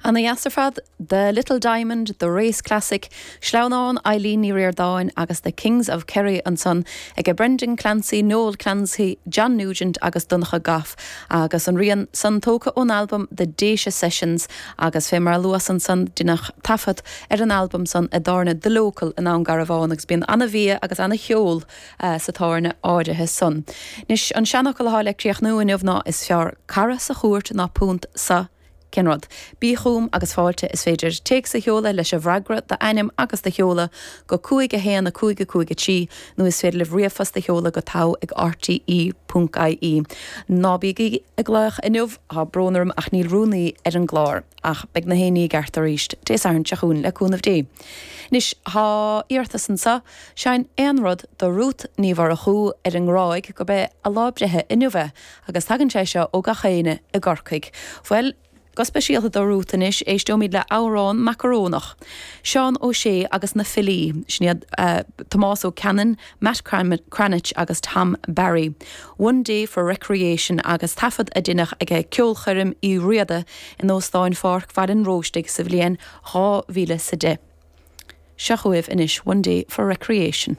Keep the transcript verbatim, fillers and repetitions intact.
Ana dheas ar fad, The Little Diamond, The Race Classic, Sleamhnán Eileen Ní Ríordáin agus The Kings of Kerry ansan ag Brendan Clancy, Noel Clancy, John Nugent agus Donncha Goff agus an rian san tógtha ón albam The Déise Sessions agus fé mar a luas ansan deineadh taifead ar an albam san i dtábhairne The Local i nDún Garbhán agus bíonn an-bhia agus an-cheol uh, sa tábhairne áirithe san. Anois an seanfhocal atá le críochnú inniu ná is fearr cara sa chúirt ná punt sa cén rud. Bí chugam agus fáilte is féidir téacs a sheoladh leis an bhfreagra d'ainm agus do sheoladh go cúig a haon a cúig a cúig a trí nó is féidir libh ríomhphost a sheoladh go togha ag RTE ponc IE. Ná bígí ag glaoch inniu tá brón orm ach níl rúnaí ar an gclár ach beidh na haon ní i gceart arís Dé Sathairn seo chugainn le cúnamh Dé. Anois tá iarratas anseo seinn aon rud do Ruth Ní Mhurchú ar an nGráig gurb é a lá breithe inniu é agus tagann sé seo ó gach éinne i gCorcaigh. Bhuel, Go speisialta do Ruth anois éisteoimid le amhrán macarónach. Seán Ó Sé agus na filí sin iad uh, Tomás Ó Cannon, Matt Cranitch agus Tom Barry. One Day for Recreation agus taifead a deineadh ag Ceolchoirm Uí Riada in Óstán Pháirc Bhaile an Róistigh sa bhliain dhá mhíle sa deich. Seo chugaibh anois One Day for Recreation.